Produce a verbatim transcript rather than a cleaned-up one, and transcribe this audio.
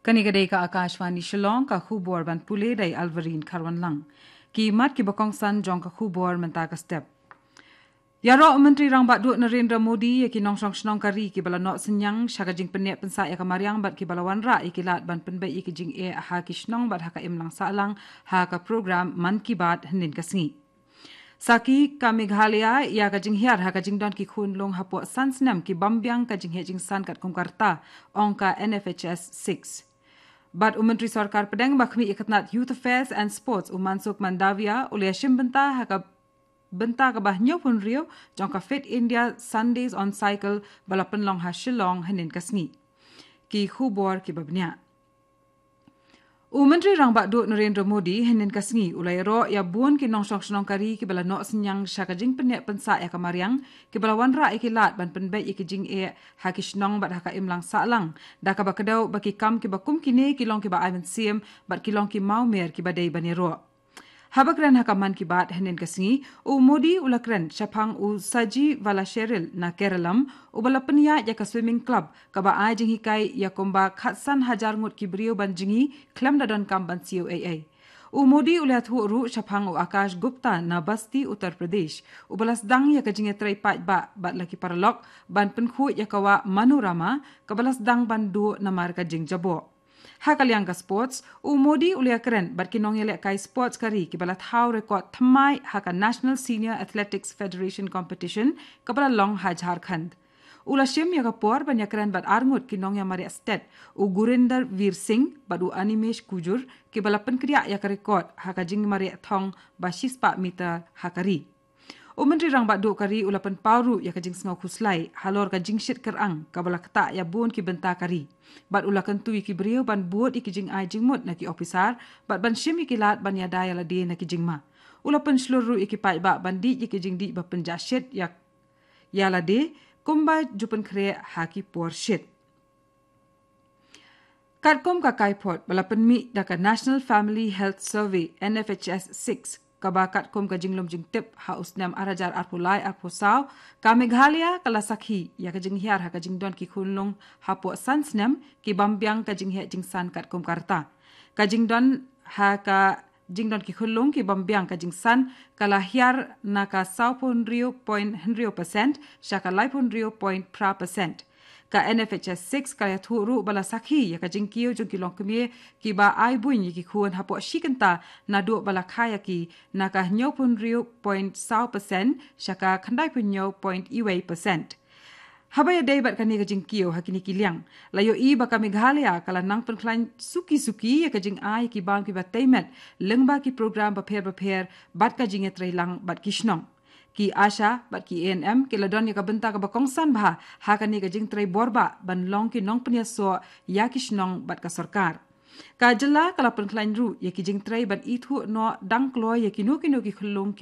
Kane ka dei ka Akashvani Shillong, ka khubor ban pule da i Alvarine Kharwanlang. Ki mat kiba kongsan jong ka khubor mynta ka step. Ïaroh u Myntri Rangbah Duh Narendra Modi ïa ki nongshong shnong ka ri kiba la noh synñiang sha ka jingpyneh pynsah ïa ka mariang bad kiba la wanrah ïa ki lad ban pynbeit ïa ki jingeh ha ki shnong bad ha ka imlang sahlang ha ka program Mann Ki Baat hynnin ka sngi. Sakhi ka Meghalaya ïa ka jinghiar ha ka jingdon ki khun lung hapoh san snem ki bym biang ka jingheh jingsan katkum ka rta, ong ka N F H S six. Bad u Myntri Sorkar Pdeng ba khmih ïa ka tnat Youth Affairs and Sports, u Mansukh Mandaviya, u la ïashim bynta ha ka bynta kaba hynñiewphew hynriew jong ka Fit India Sundays on Cycle ba la pynlong ha Shillong hynnin ka sngi. Ki khubor kiba bniah. U Myntri Rangbah Duh Narendra Modi hynnin ka sngi u la ïaroh ïa bun ki nongshong shnong ka ri kiba la noh synñiang sha ka jingpyneh pynsah ïa ka mariang, kiba la wanrah ïa ki lad ban pynbeit ïa ki jingeh ha ki shnong bad ha ka imlang sahlang, da kaba kdew ba ki kam kiba kum kine ki long kiba ai mynsiem bad ki long ki mawmer kiba dei ban ïaroh. Haba kren ha ka Mann Ki Baat hynnin ka sngi, u Modi u la kren shaphang u Saji Vallacherial na Keralam, uba la pynïaid ïa ka swimming club kaba ai jinghikai ïa kumba khatsan hajar ngut ki briew ban jngi khlem da donkam ban siew ei ei. U Modi u la ïathuh ruh shaphang u Akash Gupta na Basti, Uttar Pradesh, uba la sdang ïa ka jingïatrei paidbah bad la ki paralok ban pynkhuid ïa ka wah Manorama kaba la sdang ban duh namar ka jingjaboh. Ha ka liang ka sports, u Modi u la ïakren bad ki nongïalehkai sports ka ri kiba la thaw record thymmai ha ka National Senior Athletics Federation Competition kaba la long ha Jharkhand. U la shim ïa ka por ban ïakren bad arngut ki nongïamareh stet, u Gurinder Veer Singh bad u Animesh Kujur, kiba la pynkdiah ïa ka record ha ka jingmareh thong ba shispah meter ha ka ri. U Myntri Rangbah Duh ka ri u la pynpaw ruh ïa ka jingsngew khuslai halor ka jingshit kyrang kaba la ktah ïa bun ki bynta ka ri. Bad u la kyntu ïa ki briew ban bud ïa ki jingai jingmut na ki ophisar bad ban shim ïa ki lad ban ïada ïa lade na ki jingma. U la pynshlur ruh ïa ki paidbah ban dih ïa ki jingdih ba pynjah shit ïa, ïa lade kumba ju pynkhreh ha ki por shit. Katkum ka kaiphod ba la pynmih da ka National Family Health Survey, N F H S six, kaba katkum ka jinglum jingtip ha u snem ar hajar arphew lai arphew saw, ka Meghalaya ka la sakhi ïa ka jinghiar ha ka jingdon ki khun lung hapoh san snem ki bym biang ka jingheh jingsan katkum ka rta. Ka jingdon ha ka jingdon ki khun lung ki bym biang ka jingsan ka la hiar na ka sawphew hynriew point hynriew percent sha ka laiphew hynriew point phra percent. Ka N F H S six ka la ïathuh ruh ba la sakhi ïa ka jingkiew jong ki longkmie kiba ai buiñ ïa ki khun hapoh shi kynta naduh ba la kha ïa ki na ka hynñiewphew hynriew point saw percent sha ka khyndaiphew hynñiew point wei percent. Haba ïadei bad kane ka jingkiew ha kine ki liang, la ïohi ba ka Meghalaya ka la nang pynkhlaiñ suki suki ïa ka jingai ïa ki bam kiba tei met lyngba ki program bapher bapher bad ka jingïatreilang bad ki shnong. Ki ASHA bad ki A N M ki la don ïa ka bynta kaba kongsan bha ha kane ka jingtrei bor bah ban long ki nongpynïasoh ïa ki shnong bad ka sorkar. Ka jylla ka la pynkhlaiñ ruh ïa ki jingtrei ban ithuh noh dang kloi ïa kino kino ki khunlung